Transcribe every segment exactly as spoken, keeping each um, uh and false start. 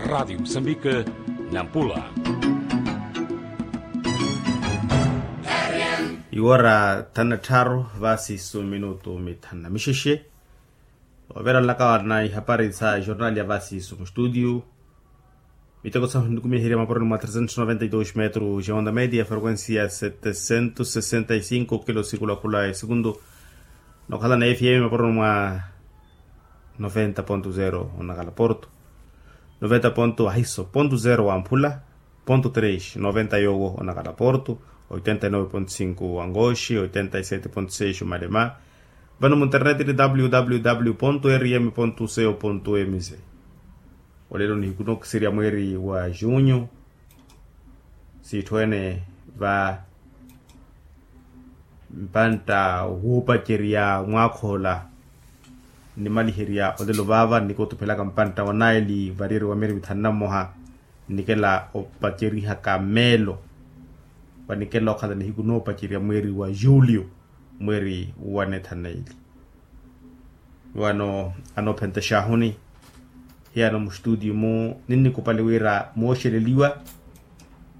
Radiyo musambika, nampula. Iwora thanu na tthaaru vaasiisu minutu mithanu na mixexe. Oveeranlaka wana ihapari sa jornali ya vaasiisu mustutiyu. Miteko sahu nikumiherya maporoni mwa tresentos noventa y dos metros ya onda media, frequencia setesentos sesenta y cinco kilo sikulakhula esikuntu. Nokhala na fm maporoni mwa noventa ponto zero onakala porto, noventa ponto ahiso ponto zero wa mphula, ponto tres noventa yowo onakala porto, oitenta y nove ponto cinco wa ngoxi, oitenta y sete ponto seis omalema. Vano mu internet ni www ponto rm ponto co ponto mz. Olelo nihiku nokiserya mweeri wa junyu, siitthu ene va mpantta wuupacerya mwaakha ola. Nnimaliherya olelo vaava nnikotuphelaka mpantta wa naili variyari wa miri mithanu na mmoha, nnikela opacerihaka meelo. Vanikela okhala nihiku noopacerya mweeri wa julio, mweeri wa neethanu na ili. Wano anoophenta exaahuni, hiyano mustutiyu-mu ninnikupali wira mooxeleliwa.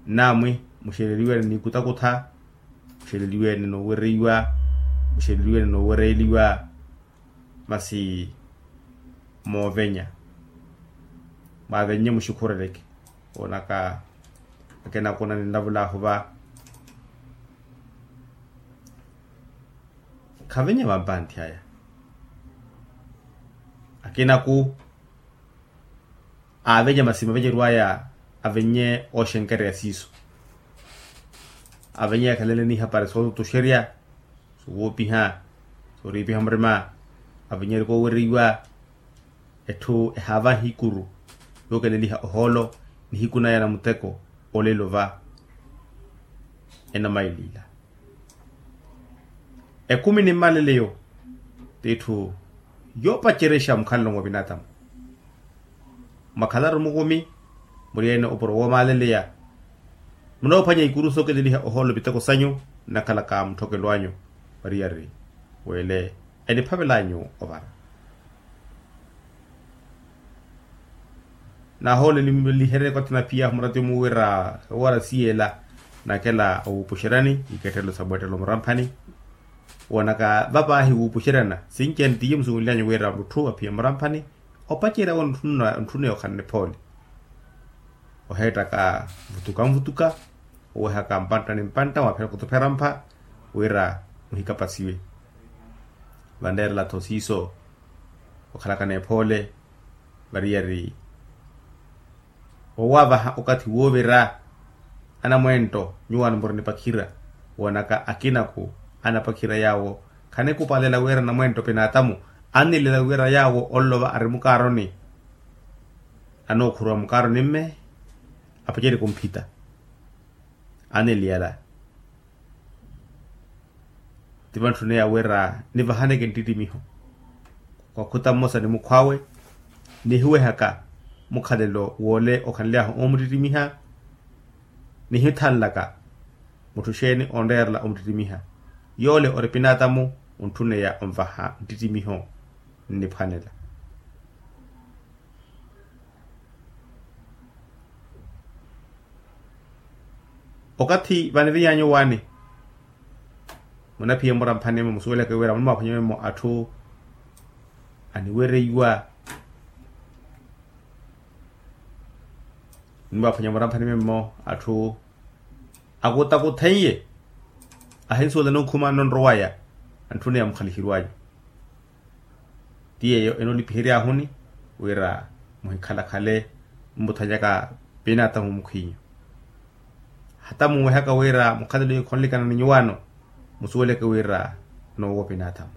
Naamwi muxeleliwe ni nikutakutha, muxeleliwe ni noowereiwa, muxeleliwe ni noowereeliwa. Masi moovenya, mwaavennye muxikhureleke. Woonaka akina akuna ninlavulaahu va, khavenye vampanthi aya. Akinaku aavenye masi mavenyeryo aya, avenye ooxenkereya siiso. Avenye akhalenle n'ihapari sootutuxerya, sowoopiha, sooriipiha murima. Avenye eri koowereiwa, etthu ehaava hikuru yookeleliha ohoolo nihiku naya na muteko. Olelo va enamailiila. Ekumi ni mmaleleyo t'itthu yoopacerexa mukhalelo mwa vinaatamu. Mwakhalaru mukumi, muri-ene opuro woomaaleleya. Munoophwanya ikuru sookeleliha ohoolo viteko sanyu, nnakhalaka mutthokelo anyu. Variyari weele eniphavel'anyu ovara. Naahooleliherye kothina phiy'ahu muratimu wira ewara siy'ela, nakela owuupuxeryani iketthelo sa mweettelo muramphani. Woonaka vapaahi wuupuxeryana sinci-ene t'iye musuwel'anyu wira mutthu aphiya muramphani, opacerya wo ntthuneya okhala niphoole. Oheettaka nvutuka nvutuka, owehaka mpantta ni mpantta waaphera kutuphera mpha, wira muhikapasiwe. Vanreerela-tho siiso okhalaka n'ephoole. Variyari owaavaha okathi woovira anamwento nyuwaano muri nipakhira. Woonaka akinaku anapakhira yaawo khanikupalela wira namwento pinaatamu annilela wira yaawo onlova ari mukaaroni. Anookhuruwa mukaaroni mme apacerye kumphita aniliyala. Ti vantthuniya wira nivahaneke nttittimiho kwakhuta mmosa ni mukhw'awe, nihiwehaka mukhalelo woole okhanly'ahu oomuttittimiha. Nihithanlaka mutthu xeeni onreerela omuttittimiha. Yoole ori pinaatamu ontthuneya onvaha nttittimiho nniphwanela. Okathi vaniviny'anyu waani munaphiye muramphani mwe musuweleke wira munimwaphwanye memmo atthu aniwereiwa. Munimwaphwanye muramphani memmo atthu akutakuthen'ye ahinsuwela nookhuma nno nrowaya antthuneya mukhalihirw'anyu. Ti yeeyo enoolipihery'ahuni wira muhikhalakhale mmuthanyaka pinaatamu mukhw'inyu. Hata munwehaka wira mukhalelo ikhonlikana ni nyuwaano musuweleke wira noowo pinaatamu.